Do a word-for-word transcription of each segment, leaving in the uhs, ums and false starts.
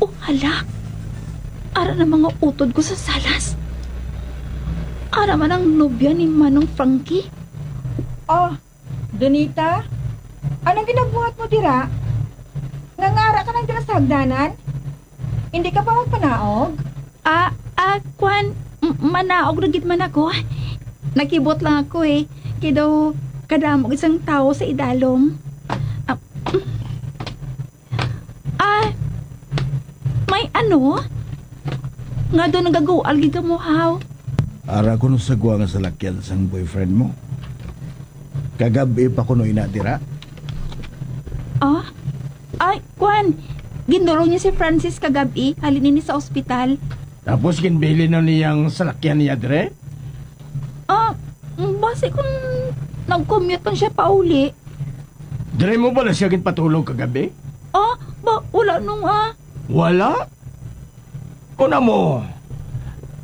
Oh, hala! Ara na mga utod ko sa salas. Ara man ang nobya ni Manong Frankie. Oh, Donita, anong ginabuhat mo dira? Nangara ka lang dira sa hagdanan? Hindi ka pa magpanaog? Ah, ah, kwan, m- manaog na gid man ako. Nakibot lang ako eh. Kay daw kadamo isang tawo sa idalom. Ah, ah, may ano? Nga daw nagagual gid kamo, haw? Ara ko no sa gwa nga salakyan sang boyfriend mo. Kagab-i pa kuno ina dira? Ah? Ay, kwan. Gindulong niya si Francis kagab-i, halin ini sa ospital. Tapos ginbilin na niyang salakyan niya dire? Ah, basi kung nag-commute lang siya pauli. Dire mo bala siya ginpatulog kagabi? Ah, ba, wala nung, ah. Wala? Kuna mo,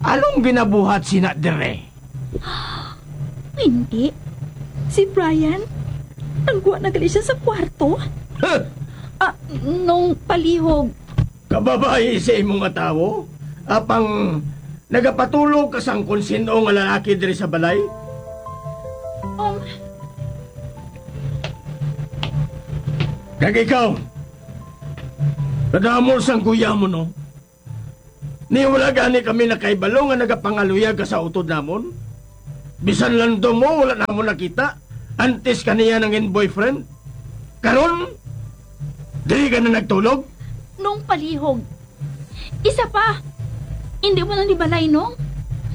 anong ginabuhat sina dire? Hindi. Si Brian, nagwa na gali siya sa kwarto. Huh! Ah, nung palihog. Kababayi sa imo nga tawo, apang nagapatulog ka sang kon sin-o nga lalaki diri sa balay? Um. Kag ikaw, kadamo sang kuya mo, no? Ni wala gani kami nakahibalo nga nagapangaluyag ka sa utod namon. Bisan landong mo, wala namon nakita. Antes ka niya nangin boyfriend. Karon, diri ka na nagtulog? Nung palihog. Isa pa, hindi mo na ni balay, Nong?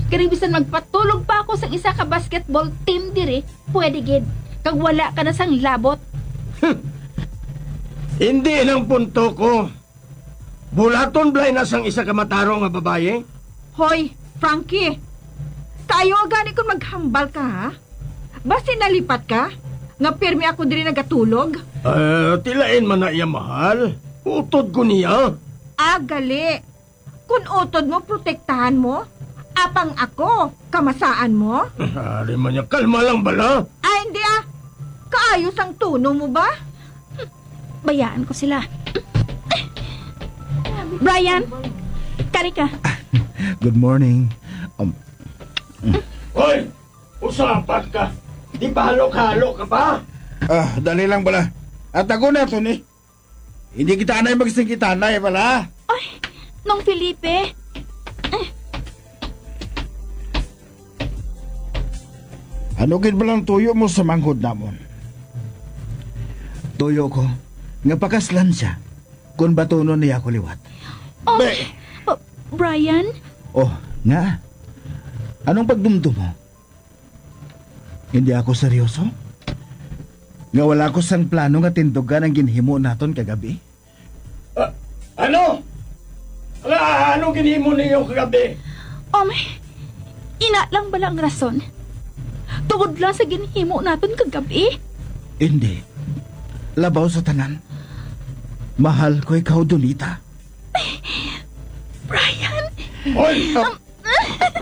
Kani bisan magpatulog pa ako sang isa ka basketball team diri, pwede gid. Kag wala ka na sang labot. Hindi lang punto ko. Bulaton bala na sang isa ka matarong nga babayi? Hoy, Frankie! Kaayo gani kon maghambal ka, ha? Basi nalipat ka? Nga pirmi ako diri nagatulog? Eh, tilain man na iya, mahal. Utod ko niya. Ah, gali. Kon utod mo, protektahan mo. Apang ako, kamasaan mo? Ari man niya, kalma lang bala. Ay, hindi ah. Kaayo sang tono mo ba? Bayaan ko sila. Brian, kari ka. Good morning. Um, Hoy! Usapan ka! Di ba halok-halok ka pa? Ah, dali lang bala. At ako na to ni. Hindi kita anay magsingkitanay bala. Ay, Nong Felipe. Ano gid ba lang tuyo mo sa manghod namon? Tuyo ko nga pakaslan siya kung batunon niya ako liwat. Oh, Be- oh, Brian? Oh, nga? Anong pagdumdum mo? Hindi ako seryoso? Nga wala ko sang plano nga tindugan ang ginhimo naton kagabi? Ah, ano? Nga, ano ginhimo ninyo kagabi? Um, ina lang bala ang rason? Tungod lang sa ginhimo naton kagabi? Hindi. Labaw sa tanan, mahal ko ikaw, Donita. Brian! Hoy! Um,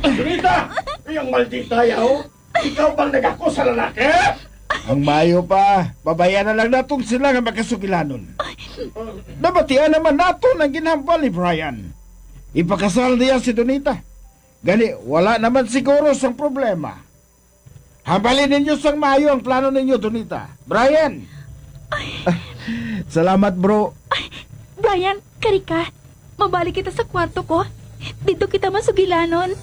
Donita! Ay, ang maldita yaw! Ikaw bang nagako sa lalaki? Ang maayo pa, pabayaan na lang naton sila nga magkasugilanon. Nabatian naman naton ang ginhambal ni Brian. Ipakasal niya si Donita. Gani, wala naman siguro sang problema. Hambalin ninyo sang maayo ang plano ninyo, Donita. Brian! Ay. Salamat, bro. Ay, Brian, kari ka. Mabalik kita sa kwarto ko. Dito kita masugilanon.